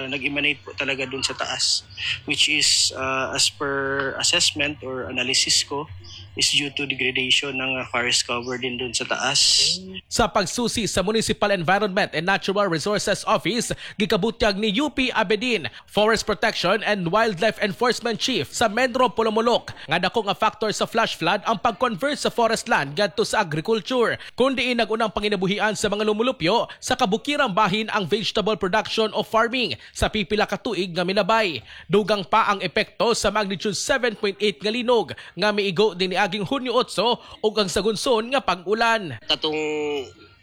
nag-emanate po talaga dun sa taas, which is as per assessment or analysis ko is due to degradation ng forest cover din dun sa taas. Sa pagsusi sa Municipal Environment and Natural Resources Office, gikabutyag ni UP Abedin, Forest Protection and Wildlife Enforcement Chief sa Menro Polomolok, nga dako nga factor sa flash flood ang pag-convert sa forest land ngadto sa agriculture, kundi nagunang panginabuhian sa mga lumulupyo sa kabukirang bahin ang vegetable production o farming sa pipila ka tuig nga milabay. Dugang pa ang epekto sa magnitude 7.8 nga linog nga miigo din niaging Hunyo 8 ug ang sagunson nga pag-ulan. Katong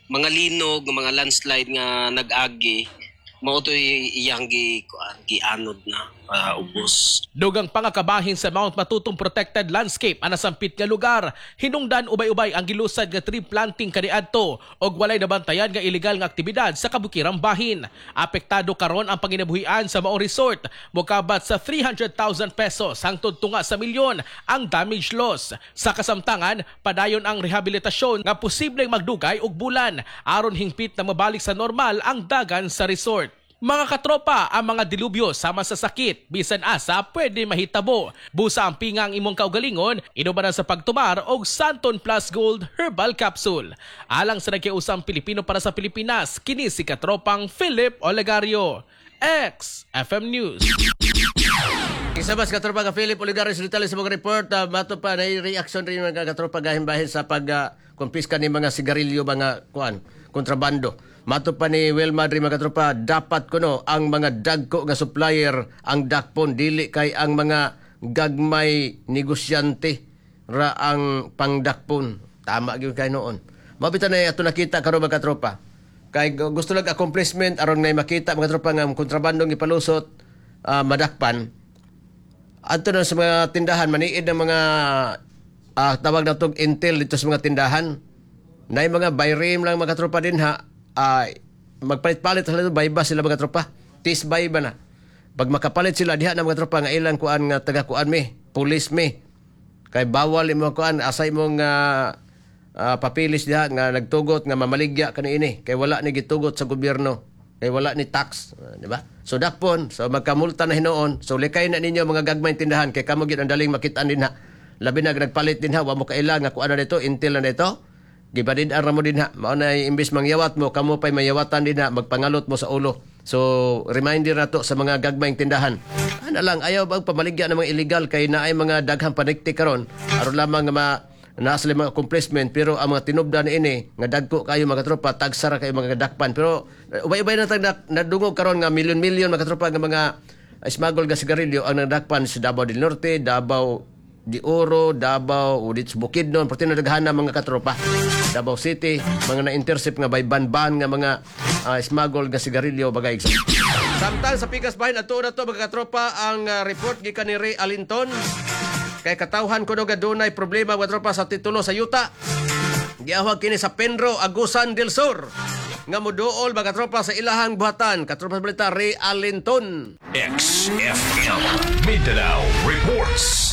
mga linog, mga landslide nga nag-agi, mao to'y iyang gianod na ubos. Dugang pangakabahin sa Mount Matutong Protected Landscape ang nasampit nga lugar. Hinungdan ubay-ubay ang gilusad nga tree planting kaniadto og walay nabantayan nga ilegal nga aktibidad sa kabukirang bahin. Apektado karon ang panginabuhian sa Mao Resort, mokabat sa 300,000 pesos hangtod tunga sa milyon ang damage loss. Sa kasamtangan, padayon ang rehabilitasyon nga posibleng magdugay og bulan aron hingpit na mabalik sa normal ang dagan sa resort. Mga katropa, ang mga dilubyo sama sa sakit, bisan asa pwede mahitabo. Busa ang pinga ang imong kaugalingon, inubanan sa pagtumar og Santon Plus Gold Herbal Capsule. Alang sa nagkiusang Pilipino para sa Pilipinas, kini si katropang Philip Olegario. XFM News. Isa mas katropa ka Philip Olegario sa detalye sa mga report, mato pa na reaction rin mga katropa gahin-bahin sa pag-kumpiska ni mga sigarilyo, mga kuan, kontrabando. Mato pa ni Wilma diri mga katropa, dapat kuno ang mga dagko nga supplier ang dakpon, dili kay ang mga gagmay negosyante ra ang pangdakpon. Tama gyud kay noon. Mabita na ato nakita karon mga katropa. Kay gusto lang accomplishment aron ngay makita mga tropa nga kontrabandong ipalusot, madakpan. Adto na sa mga tindahan maniid ng mga tawag natong intel dito sa mga tindahan. Nay mga bayrim lang mga tropa dinha. Magpalit-palit sila, bayba sila mga tropa. Tis bayba na. Pag makapalit sila diha na mga tropa nga ilang kuan nga taga kuan mi, pulis mi. Kay bawal imo kuan asay mong papilis diha nga nagtugot nga mamaligya kaniini kay wala ni gitugot sa gobyerno. Kay wala ni tax, di ba? So dakpon, so magkamulta na hinuon. So likay na ninyo mga gagmay tindahan kay kamo gyud ang daling makit-an dinha. Labi na nagpalit dinha, wa mo kaila nga kuan na dito, intel na dito. Gibadid ang ramo dinha. Mao na imbis mangyawat mo, kamo pay mayawatan dinha, magpangalot mo sa ulo. So reminder na to sa mga gagmayng tindahan. Ana lang, ayaw bang pamaligya ng mga illegal kay naay mga daghang panikti karon aron lamang nga naa sila mga accomplishment, pero ang mga tinubdan ini nga dagko kayo mga tropa, tagsara kayo mga dakpan. Pero ubay-ubay na tag nadungog karon nga milyon-milyon mga tropa nga mga smuggle nga sigarilyo ang nadakpan sa Davao del Norte, Davao de Oro, Davao, o dito sa Bukidnon, pati na daghan na mga katropa. Davao City, mga na-intercept nga by ban-ban nga mga smuggle nga sigarilyo bagay. Samtang sa pikas bahin ato na to mga katropa ang report gikan ni Ray Alinton. Kay katawhan kuno nga dunay problema mga tropa sa titulo sa yuta. Giawhag kini sa Penro, Agusan del Sur. Nga moduol mga tropa sa ilahang buhatan. Katropa sa balita, Ray Alinton. XFM Mindanao Reports.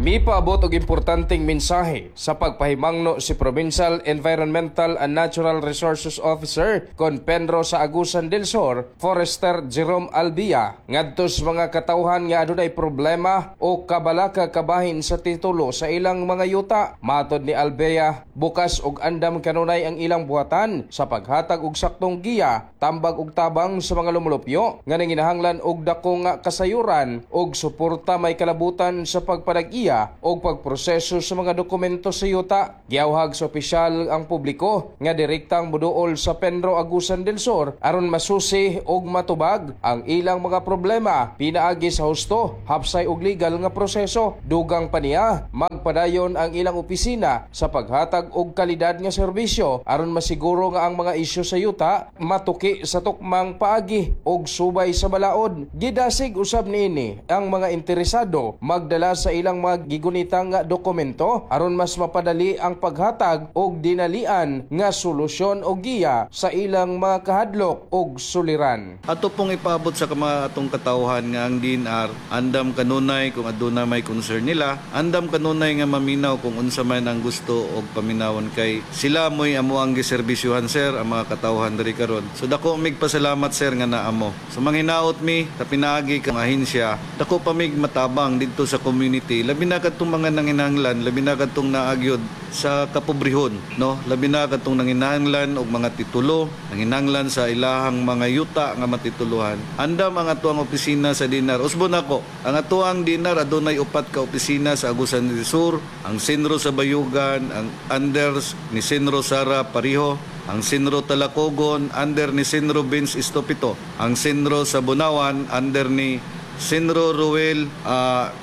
Mipaabot og importanteng mensahe sa pagpahimangno si Provincial Environmental and Natural Resources Officer kon Penro sa Agusan del Sur, Forester Jerome Albia, ngadto sa mga katawhan nga adunay problema o kabalaka kabahin sa titulo sa ilang mga yuta. Matod ni Albia, bukas og andam kanunay ang ilang buhatan sa paghatag og saktong giya, tambag og tabang sa mga lumulupyo nga nanginahanglan og dako nga kasayuran og suporta may kalabutan sa pagpadag-iya o pagproseso sa mga dokumento sa yuta. Giawhag sa opisyal ang publiko nga direktang muduol sa Penro Agusan del Sur aron masusi og matubag ang ilang mga problema pinaagi sa husto, hapsay og legal nga proseso. Dugang pa niya, magpadayon ang ilang opisina sa paghatag og kalidad nga serbisyo aron masiguro nga ang mga isyu sa yuta matuki sa tukmang paagi og subay sa balaod. Gidasig usab niini ang mga interesado magdala sa ilang mga gigunitang dokumento aron mas mapadali ang paghatag og dinalian nga solusyon o giya sa ilang mga kahadlok og suliran. Ato pong ipaabot sa mga atong katawhan nga ang DNR andam kanunay kung aduna may concern nila, andam kanunay nga maminaw kung unsa man ang gusto og paminawon kay sila mo'y amo ang giserbisyuhan sir ang mga katawhan diri karon. So dako mig pasalamat sir nga naamo. So manghinaot mi sa pinaagi kang ahensya, dako pa mig matabang didto sa community, labi na kadtong mga nanginahanglan, labi na kadtong naagyod sa kapobrehon, no? Labi na kadtong nanginahanglan og mga titulo, nanginahanglan sa ilahang mga yuta nga matituluhan. Andam ang atuang opisina sa DNR. Usbon ako, ang atuang DNR adunay upat ka opisina sa Agusan del Sur, ang Senro sa Bayugan, ang Anders ni Senro Sara Pariho, ang Senro Talacogon under ni Senro Vince Estopito, ang Senro sa Bunawan under ni Senro Ruel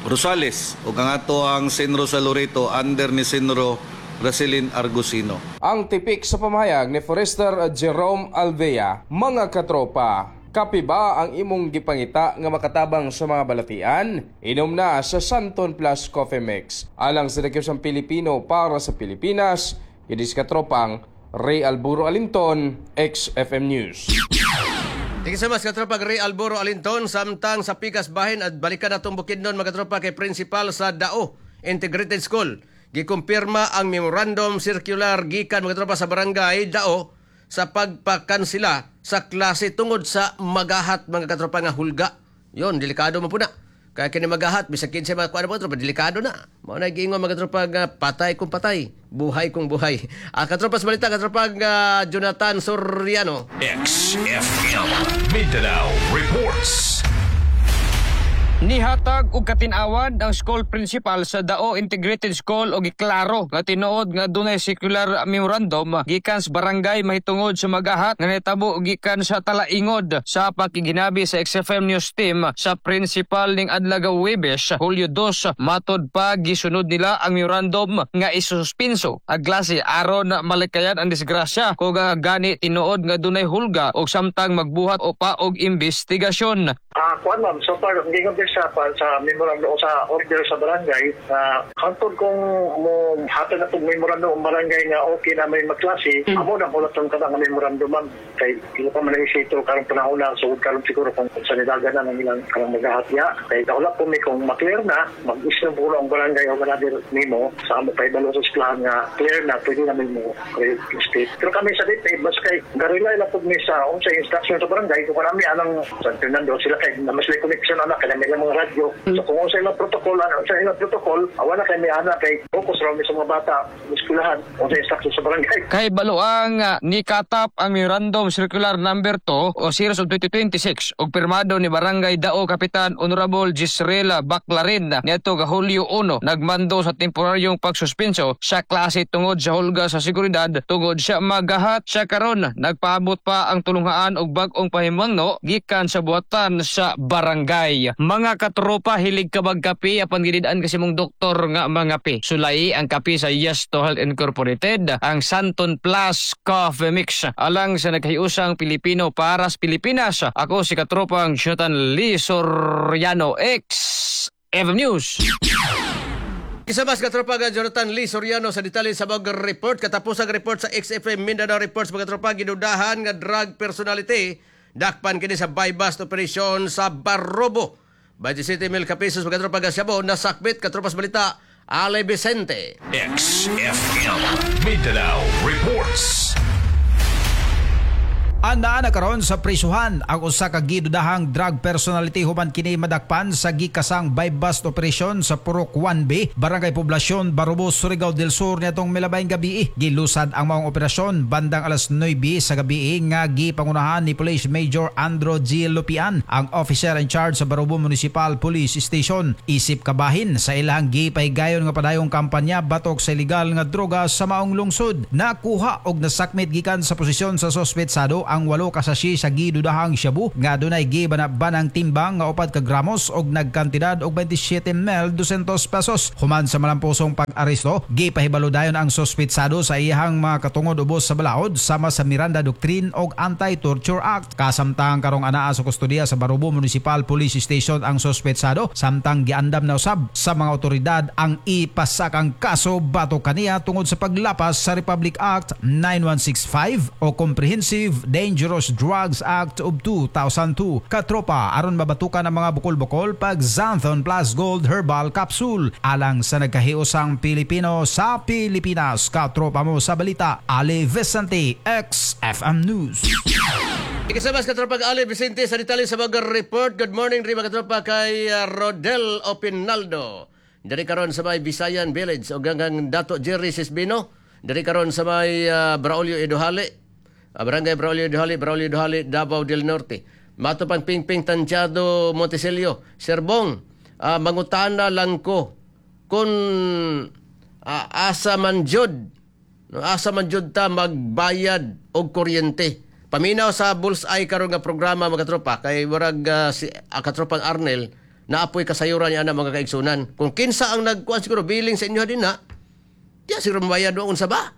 Rosales ug ang ato ang Senro sa Loreto under ni Senro Racelin Argusino. Ang tipik sa pamahayag ni Forester Jerome Alvea, mga katropa, kape ba ang imong gipangita nga makatabang sa mga balatian? Inom na sa Santon Plus Coffee Mix. Alang sa Nakipsang Pilipino para sa Pilipinas, idis katropang Ray Alburo Alinton, XFM News. Thank you so much, katropa Ray Alburo Alinton. Samtang sa pikas bahin at balikan natong Bukidnon, mga katropa, kay principal sa Dao Integrated School. Gikumpirma ang memorandum circular gikan mga katropa sa barangay Dao sa pagpakansila sa klase tungod sa magahat mga katropa nga hulga. Yon, delikado man po na. Kaya kini magahat, bisag kinsa mga kuan mga katropa, delikado na. Mao na giingon mga katropa nga patay kung patay, buhay kung buhay. Katropa sa balita, katropa nga Jonathan Soriano. XFM Mindanao Reports. Nihatag og katin-awan ang school principal sa Dao Integrated School og giklaro nga tinuod nga dunay circular memorandum gikan sa barangay mahitungod sa magahat nga nahitabo gikan sa Talaingod. Sa pakiginabi sa XFM News Team sa principal ning adlaw Huwebes, Hulyo 2, matod pa gisunod nila ang memorandum nga isuspinso ang klase aron malikayan ang disgrasya kung gani tinuod nga dunay hulga og samtang magbuhat o pa og investigasyon. Kuan ma'am, so far hindi ko sa memorandum o sa order sa barangay hantod kung mo hatag na itong memorandum ang barangay nga okay na may magklase, amo na hulat ang kada nga memorandum ma'am kay ilo pa man ang isito karong panahon na sugod karon siguro kung sa nidagan na ng ilang karong maghahatya kay daulap po mi kung maklear na mag-issue po ang barangay o another memo sa amo pa ibalo sa eskwelahan nga clear na pwede na mo state. Pero kami sa DepEd basta kay garilay lang po mi sa unsa instruction sa barangay kung kami anang San Fernando sila kay na mas connection ana kay ilang mga radyo. So kung unsa ilang protocol, ano sa ilang protocol, wala kay may ana kay focus ra mi sa mga bata eskwelahan unsa instruction sa barangay. Kay baluang ni katap ang Memorandum Circular Number 2 o Series of 2026 og pirmado ni Barangay Dao Kapitan Honorable Gisrela Baclarin niadto ga Hulyo 1 nagmando sa temporaryong pagsuspenso sa klase tungod sa hulga sa seguridad tungod sa magahat sa karon. Nagpaabot pa ang tulunghaan og bag-ong pahimangno gikan sa buhatan sa barangay. Mga katropa, hilig ka magkape apan gilid-an kasi mong doktor nga mga pe. Sulay ang kape sa Yes to Health Incorporated, ang Santon Plus Coffee Mix. Alang sa nagkahiusang Pilipino para sa Pilipinas. Ako si katropang Jonathan Lee Soriano, XFM News. Isa mas katropa nga Jonathan Lee Soriano sa detalye sa mga report. Katapos ang report sa XFM Mindanao Reports, mga tropa, gidudahan nga drug personality dakpan kini sa buy-bust operation sa Barobo. 27 mil ka pesos, mga tropa, nga siyabo nasakbit. Katropas balita, Ale Vicente. XFM Mindanao Reports. Anaa na karon sa prisuhan ang usa ka gidudahang drug personality human kini madakpan sa gikasang buy-bust operation sa Purok 1B, Barangay Poblacion, Barobo, Surigao del Sur niadtong milabayng gabi. Gilusad ang maong operasyon bandang alas 9 sa gabi nga gipangunahan ni Police Major Andro G. Lupian, ang officer in charge sa Barobo Municipal Police Station. Isip kabahin sa ilang gipahigayon nga padayong kampanya batok sa ilegal nga droga sa maong lungsod. Nakuha og nasakmit gikan sa posisyon sa suspetsado ang 8 ka sachet sa gidudahang shabu nga adunay gibanab-banang timbang nga 4 ka gramos og nagkantidad og 27 mil 200 pesos. Human sa malampusong pag-aresto, gipahibalo dayon ang suspetsado sa iyahang mga katungod ubos sa balaod sama sa Miranda Doctrine og Anti-Torture Act. Kasamtang karong anaa sa kustodiya sa Barobo Municipal Police Station ang suspetsado, samtang giandam na usab sa mga otoridad ang ipasakang kaso batok kaniya tungod sa paglapas sa Republic Act 9165 o Comprehensive Dangerous Drugs Act of 2002. Katropa, aron mabatukan ang mga bukol-bukol pag Xanthone Plus Gold Herbal Capsule. Alang sa nagkahiusang Pilipino sa Pilipinas. Katropa mo sa balita, Ali Vicente, XFM News. Ikasabas katropa Ali Vicente sa detalye sa mga report. Good morning rin mga katropa kay Rodel Opinaldo. Diri karon sa may Visayan Village o hanggang Dato Jerry Sisbino. Diri karon sa may Braulio Eduhali. Barangay Braulio Eduhali, Braulio Eduhali, Davao del Norte. Matupang Pingping Tantiado Montesilio. Serbong, mangutana lang ko kung asa man jud, no, asa man jud ta magbayad og kuryente. Paminaw sa Bullseye karon nga programa mga katropa kay warag si katropang Arnel naapoy kasayuran niya na mga kaigsunan. Kung kinsa ang nagkuan siguro billing sa inyo din na, diya siguro mabayad wa unsa ba?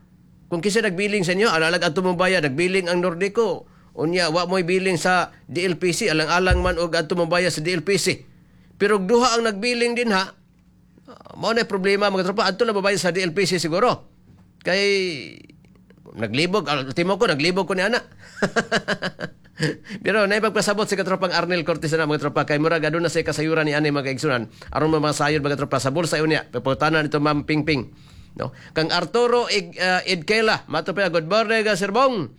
Kung kinsa nagbilling sa inyo, alalag adto mo bayad, nagbilling ang Nordico. Unya wa mo'y billing sa DLPC, alang-alang man og adto mo bayad sa DLPC. Pero duha ang nagbilling din ha, mao na problema mga tropa, adto na babayad sa DLPC siguro. Kay naglibog, ultimo ko naglibog ko ni ana. Pero naipagpasabot si katropang Arnel Cortez na mga tropa kay murag aduna say kasayuran ni ani mga kaigsunan aron mga sayod mga tropa sa bulsa unya peputanan nito Ma'am Pingping. No, kang Arturo Idkela, mato pa, good morning Sir Bong.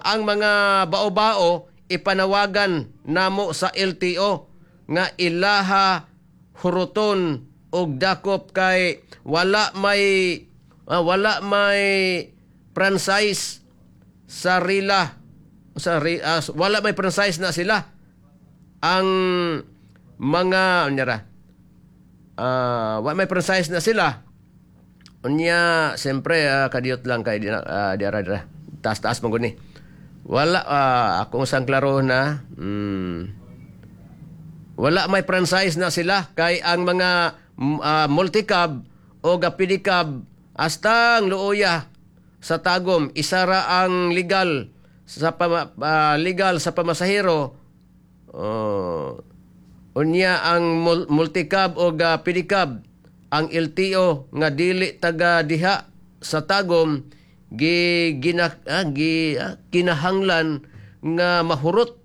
Ang mga bao-bao ipanawagan namo sa LTO nga ilaha huruton og dakop kay wala may franchise sa rila sa wala may franchise na sila ang mga unyara wala may franchise na sila. Unya siyempre kadiyot lang kay di ara dira taas-taas man gud ni. Wala akong sang klaro na wala may franchise na sila kay ang mga multicab o pedicab hasta ang luoya sa Tagum isara ang legal sa legal sa pamasahero. Unya ang multicab o pedicab ang LTO nga dili taga diha sa Tagum kinahanglan nga mahurot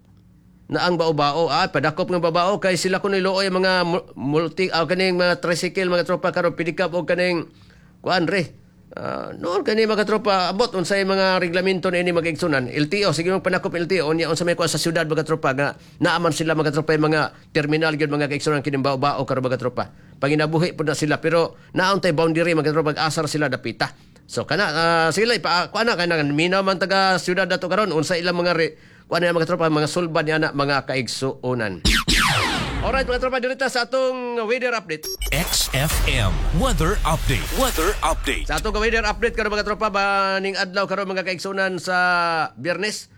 na ang bao-bao. Padakop nga bao-bao kay sila kun niluoy mga multi kaning mga tricycle mga tropa karon pedicab o kaning kuan re Noon kani, mga tropa, abot unsay mga reglamento na ini, mga igsunan. LTO, sige, mong panakop LTO unya unsa may kuan sa syudad, mga tropa, nga naaman sila, mga tropa, yung mga terminal gyud, mga kaigsunan, kining bao-bao karon, mga tropa. Panginabuhi pud na sila, pero naon tay boundary, mga tropa, asar sila dapita. So kana sila ipa kuan na kana minaw man taga syudad dato karon unsa ilang mga kuan na, mga tropa, mga sulbad niya na, mga kaigsuonan. Alright, mga tropa, direta sa atong weather update. XFM Weather Update. Weather Update. Sa atong weather update karon, mga tropa, baning adlaw karon, mga kaigsunan, sa Biyernes.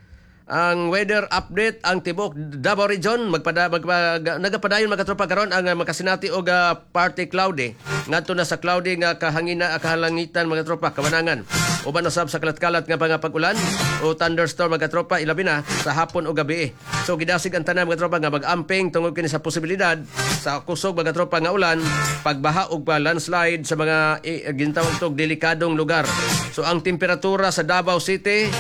Ang weather update, ang tibok Davao Region nagapadayon, mga tropa, karon ang makasinati og partly cloudy ngadto na sa cloudy nga kahangina, kahalangitan, mga tropa, kawanangan. Uban usab sa kalat-kalat nga mga pag-ulan o thunderstorm, mga tropa, ilabi na sa hapon o gabi. So gidasig ang tanan, mga tropa, nga mag-amping tungod kini sa posibilidad sa kusog, mga tropa, nga ulan, pagbaha ug pa landslide sa mga gintawag tog delikadong lugar. So ang temperatura sa Davao City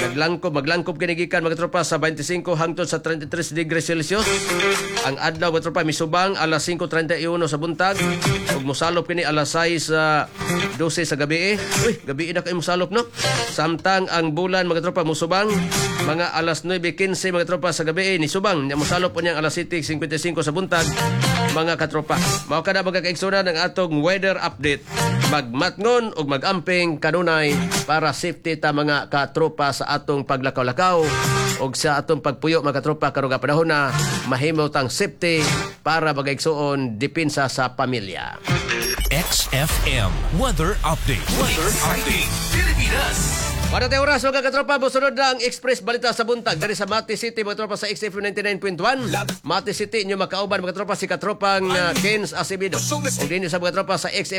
maglangkob kini gikan, mga tropa, sa 25 hangtod sa 33 degrees Celsius. Ang adlaw, mga tropa, misubang alas 5:31 sa buntag ug mosalop kini alas 6 sa 12 sa gabi. Uy, gabi na kay mosalop, no? Samtang ang bulan, mga tropa, musubang mga alas 9:15, mga tropa, sa gabi ni subang, nya mosalop unyang alas 7:55 sa buntag, mga katropa. Mao kada, mga kaigsunan, ang atong weather update. Magmatngon ug magamping kanunay para safety ta, mga katropa, sa atong paglakaw-lakaw ug sa atong pagpuyo, mga katropa, karong nga panahon na mahimo tang safety para mga igsuon, depensa sa pamilya. XFM Weather Update. Weather Update. Pilipinas. Para tayo oras, mga katropa, musunod na ang Express Balita sa buntag. Dari sa Mati City, mga tropa, sa XFM 99.1. Mati City, inyo makauban, mga tropa, si katropang Kens Acevedo. Ug dinhi sa mga tropa sa XFM